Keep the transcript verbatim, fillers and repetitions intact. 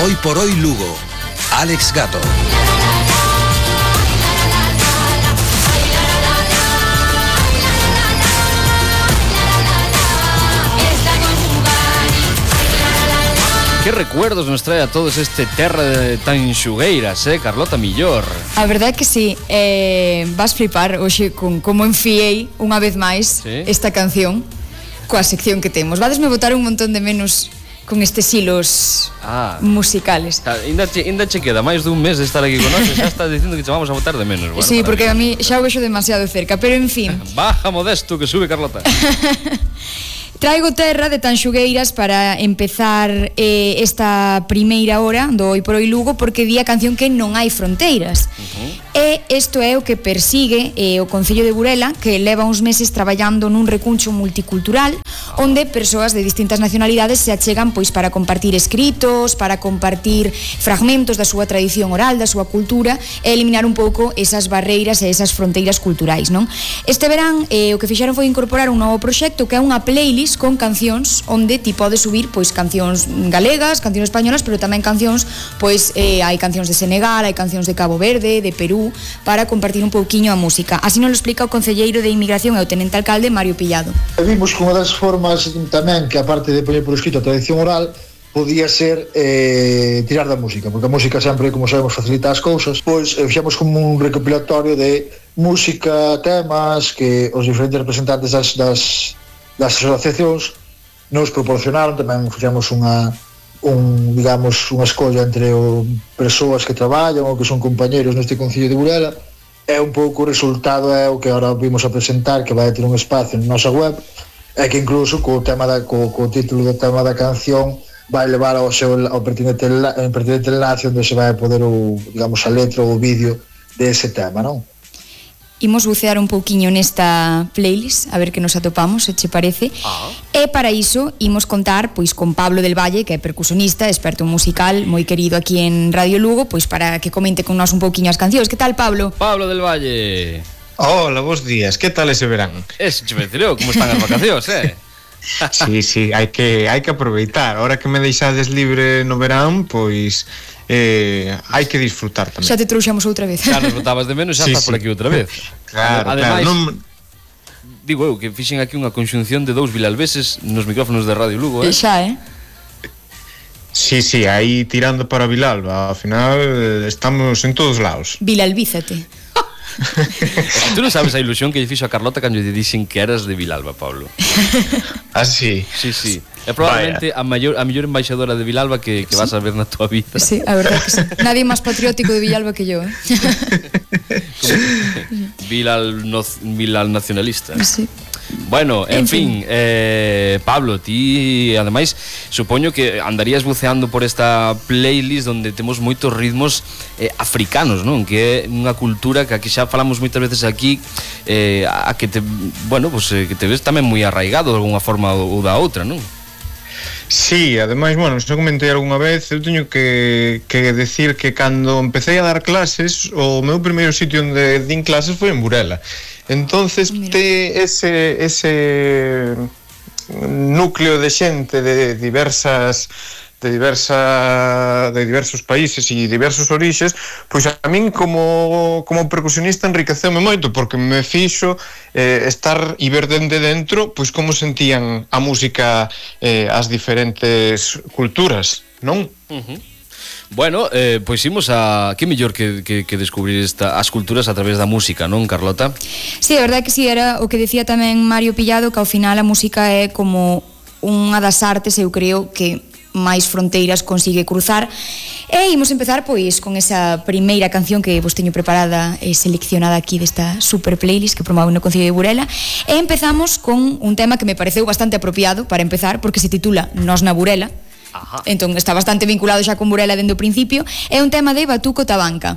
Hoy por hoy Lugo, Alex Gato. Que recuerdos nos trae a todos este terra de tan xugueiras, eh, Carlota Millor? A verdade é que sí, eh, vas flipar hoxe con como enfiei unha vez máis ¿Sí? esta canción coa sección que temos. Vadesme botar un montón de menos con estes hilos ah. musicales. Ainda che, ainda che queda máis dun mes de estar aquí con nós e xa estás dicindo que te vamos a botar de menos. Bueno, sí, porque a mí xa o vexo demasiado cerca, pero en fin. Baja modesto que sube Carlota. Traigo terra de Tanxugueiras para empezar eh, esta primeira hora do Hoy por Hoy Lugo, porque di a canción que non hai fronteiras. Uh-huh. E isto é o que persigue eh, o Concello de Burela, que leva uns meses traballando nun recuncho multicultural onde persoas de distintas nacionalidades se achegan pois para compartir escritos, para compartir fragmentos da súa tradición oral, da súa cultura, e eliminar un pouco esas barreiras e esas fronteiras culturais, non? Este verán eh, o que fixeron foi incorporar un novo proxecto que é unha playlist con cancións onde ti podes subir pois cancións galegas, cancións españolas, pero tamén cancións, pois eh, hai cancións de Senegal, hai cancións de Cabo Verde, de Perú, para compartir un pouquiño a música. Así nos lo explica o concelleiro de Inmigración e o tenente alcalde Mario Pillado. Vimos que unha das formas tamén que, aparte de poñer por escrito a tradición oral, podía ser eh, tirar da música, porque a música sempre, como sabemos, facilita as cousas. Pois eh, fixemos como un recopilatorio de música, temas que os diferentes representantes das, das, das asociacións nos proporcionaron. Tamén fixemos unha un, digamos, unha escolla entre o, persoas que traballan ou que son compañeros neste Concello de Burela. É un pouco o resultado, é o que agora vimos a presentar, que vai ter un espacio na nosa web, é que incluso co tema da, co, co título do tema da canción vai levar ao seu ao pertinente, ao pertinente enlace onde se vai poder o, digamos, a letra ou o vídeo dese tema, non? Imos bucear un pouquiño nesta playlist, a ver que nos atopamos, se che parece. Ah. E para iso imos contar pois con Pablo del Valle, que é percusionista, experto musical, moi querido aquí en Radio Lugo, pois para que comente con nós un pouquiño as cancións. Que tal, Pablo? Pablo del Valle. Hola, bons días. Que tal ese verán? Es chuvecereo, como están as vacacións, eh? Sí, sí, hai que hai que aproveitar. Ahora que me deixades libre no verán, pois eh, hai que disfrutar tamén. Xa te trouxamos outra vez. Xa nos botabas de menos, xa sí, estás sí. por aquí outra vez. Claro, ademais, claro, non... digo eu que fixen aquí unha conxunción de dous vilalveses nos micrófonos de Radio Lugo, eh? E xa, eh? Sí, sí, aí tirando para Vilalba. Ao final estamos en todos lados. Vilalvízate. Tú non sabes a ilusión que lle fixo a Carlota cando lle dixen que eras de Vilalba, Pablo. Ah, sí? Sí, sí. É probablemente a maior, a mellor embaixadora de Vilalba que, que vas a ver na tua vida. Sí, a verdade que sí. Nadie máis patriótico de Vilalba que yo, eh? Vilal, no, Vilal nacionalista. Sí. Bueno, en, en fin, fin eh, Pablo, ti ademais supoño que andarías buceando por esta playlist onde temos moitos ritmos eh, africanos, non? Que é unha cultura que aquí xa falamos moitas veces aquí, eh, a que te, bueno, pues, eh, que te ves tamén moi arraigado de alguna forma ou da outra, non? Sí, ademais, bueno, xa comentei algunha vez, eu teño que, que decir que cando empecé a dar clases, o meu primeiro sitio onde din clases foi en Burela. Entonces, te ese, ese núcleo de xente de diversas de diversa de diversos países e diversos orixes, pois a min como como percusionista enriqueceume moito, porque me fixo eh, estar e ver dende dentro pois como sentían a música eh, as diferentes culturas, non? Uh-huh. Bueno, eh, pois imos a... Que mellor que, que, que descubrir esta, as culturas a través da música, non, Carlota? Sí, a verdade que sí, era o que decía tamén Mario Pillado, que ao final a música é como unha das artes, eu creo, que máis fronteiras consigue cruzar. E imos empezar pois con esa primeira canción que vos teño preparada e seleccionada aquí desta super playlist que promove no Concello de Burela. E empezamos con un tema que me pareceu bastante apropiado para empezar, porque se titula Nós na Burela. Ajá. Entón está bastante vinculado xa con Burela dende o principio. É un tema de Batuco Tabanca.